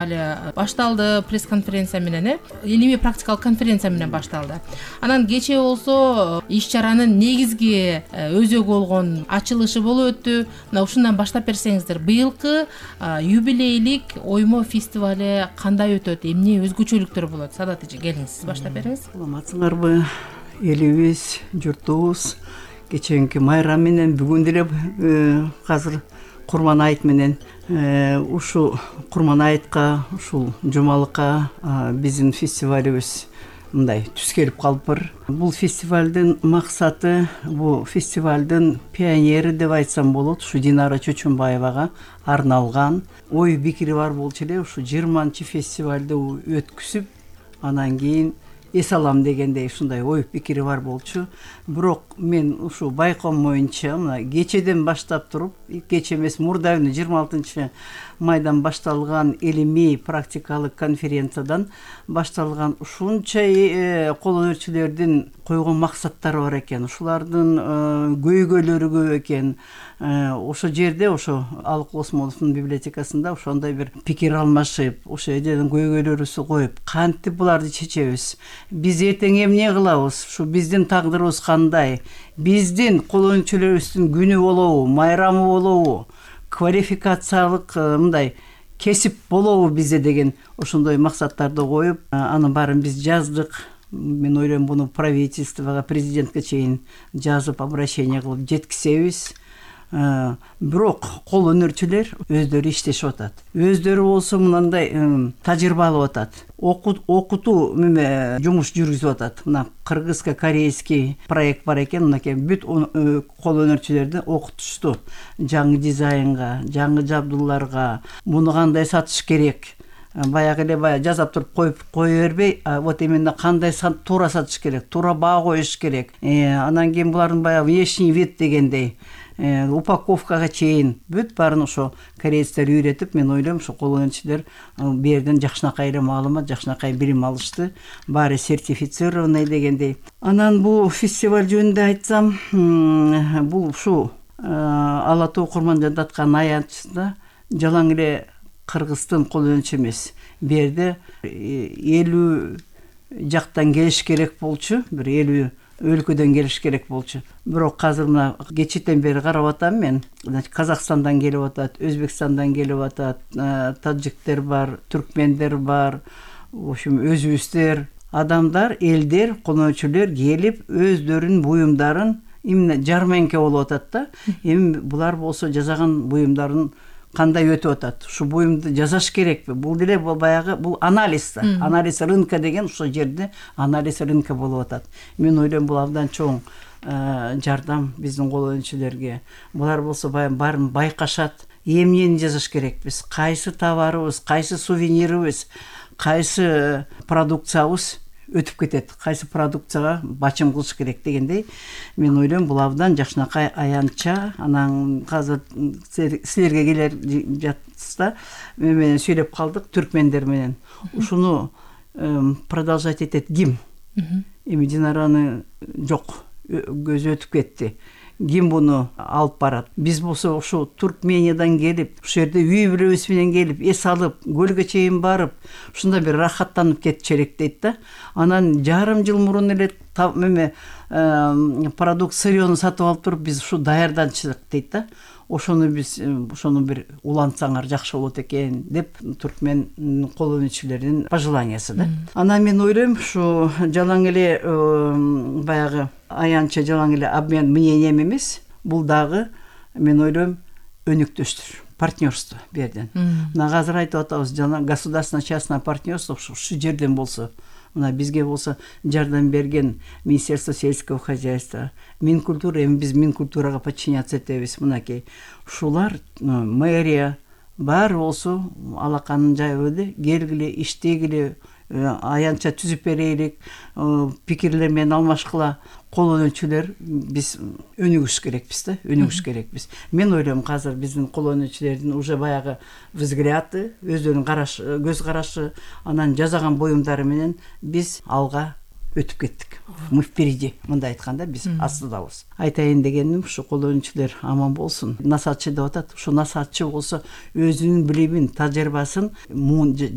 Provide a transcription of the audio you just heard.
Али башталды пресс-конференция менен, илимий практикалык конференция менен башталды. Анан кечээ болсо иш-чаранын негизги өзөгү болгон ачылышы болуп өттү. Мына ушундан баштап берсеңиздер, быйылкы юбилейлик оймо фестивали кандай өтөт, эмне өзгөчөлүктөр болот? Садат эже, келиңиз, сиз баштап бериңиз. Саламатсыңарбы, элибиз, журтубуз. Кечээки майрам менен бүгүн деле азыр Курман айт менен ушу Курман айтка, ушул жумалыкка биздин фестивалыбыз мындай түз келип калыптыр. Бул фестивалдын максаты, бул фестивалдын пионери деп айтсам болот. Ушу Динара Чөчүнбаевага арналган ой пикири бар болчу эле. Ушу 20-чы фестивалды өткүзүп, анан кийин эс алам дегендей ушундай ой пикири бар болчу. Бирок мен ушу байкоом боюнча мына кечеден баштап туруп, кече эмес, мурда 26 майдан башталган илимий практикалык конференциядан башталган ушунча кол өнөрчүлөрдүн койгон максаттары бар экен. Ушулардын көйгөйлөрү көп экен. Ошо жерде, ошо Алык Осмоновдун библиотекасында ошондой бир пикир алмашып, ошо эден көйгөйлөрүбүздү коюп, кантип буларды чечебиз? Биз эртең эмне кылабыз? Ушу биздин тагдырыбыз кандай? Биздин кол өнөрчүлөрүбүздүн күнү болобу, майрамы болобу? Квалификациялык мындай кесип болобу бизде деген ошондой максаттарды коюп, анын баарын биз жаздык. Мен ойлойм, буну правительствого, президентке чейин жазып, обращение кылып жеткизебиз. Бирок кол өнөрчүлөр өздөрү иштешип атат. Өздөрү болсо мындай тажрыйба алып атат. Окутуу жумуш жүргүзүп атат. Мына кыргызско-корейский проект бар экен. Мынакей бүт кол өнөрчүлөрдү окутушту. Жаңы дизайнга, жаңы жабдууларга, муну кандай сатыш керек. Баягы эле жазап туруп кое бербей, вот именно кандай туура сатыш керек, туура баа коюш керек. Анан кийин булардын баягы внешний вид дегендей, упаковкага чейин бүт баарын ошо корейцтер үйрөтүп, мен ойлойм, ошо кол өнөрчүлөр бу жерден жакшынакай эле маалымат, жакшынакай билим алышты. Баары сертифицированный дегендей. Анан бул фестиваль жөнүндө айтсам, бул ушу Ала Тоо Курман жаткан аянтчысында жалаң эле кыргыздын кол өнөрчү эмес. Бу жерде 50 жактан келиш керек болчу, бир 50 өлкөдөн келиш керек болчу. Бирок азыр мына кечээден бери карап атам мен. Казакстандан келип атат, Өзбекстандан келип атат, таджиктер бар, түркмендер бар, в общем, өзүбүздөр, адамдар, элдер, кол өнөрчүлөр келип өздөрүнүн буюмдарын именно жарманка болуп атат да. Эми булар болсо жасаган буюмдарын кандай өтүп атат? Ушу буюмду жасаш керекпи? Бул деле баягы бул анализ, анализ рынка деген ушул жерде анализ рынка болуп атат. Мен ойлойм, бул абдан чоң жардам биздин кол өнөрчүлөргө. Булар болсо баарын байкашат. Эмнени жасаш керекпиз? Кайсы товарыбыз, кайсы сувенирибиз, кайсы продукциябыз өтүп кетет, кайсы продукцияга бачым кылыш керек дегендей. Мен ойлойм, бул абдан жакшынакай аянтча. Анан азыр силерге келер жатса мен менен сүйлөп калдык түркмендер менен. Ушуну продолжать этет ким? Эми Динараны жок, көзү өтүп кетти. Ким буну алып барат? Биз болсо ушу Туркмениядан келип, ушул жерде үй бүлөбүз менен келип, эс алып, көлгө чейин барып, ушунда бир рахаттанып кетчерек дейт да. Анан жарым жыл мурун эле продукт сырьёну сатып алып туруп, биз ушу даярданчыдык дейт да. Ошону бир улантсаңар жакшы болот экен деп түркмен кол өнөрчүлөрүнүн пожеланиясы да. Анан мен ойлойм, ушу жалаң эле баягы аянтча жалаң эле обмен мнением эмес, бул дагы мен ойлойм өнүктүштүр, партнерство бу жерден. Мына азыр айтып атабыз, жана государственно-частное партнерство ушу жерден болсо, мына бизге болсо жардам берген Министерство сельского хозяйства, Минкультура, эми биз Минкультурага подчиняться этебиз. Мынакей ушулар, мэрия баары болсо алаканын жайып эле, келгиле, иштегиле, аянтча түзүп берелик, пикирлер менен алмашкыла. Кол өнөрчүлөр биз өнүгүш керекпиз да, өнүгүш керекпиз. Мен ойлойм, азыр биздин кол өнөрчүлөрдүн уже баягы взгляды, өздөрүнүн көз карашы, анан жасаган буюмдары менен биз алга өтүп кеттик. Мы впереди, мындай айтканда биз астыдабыз. Айтайын дегеним ушу кол өнүүчүлөр аман болсун. Насаатчы деп атат. Ушу насаатчы болсо өзүнүн билимин, тажрыйбасын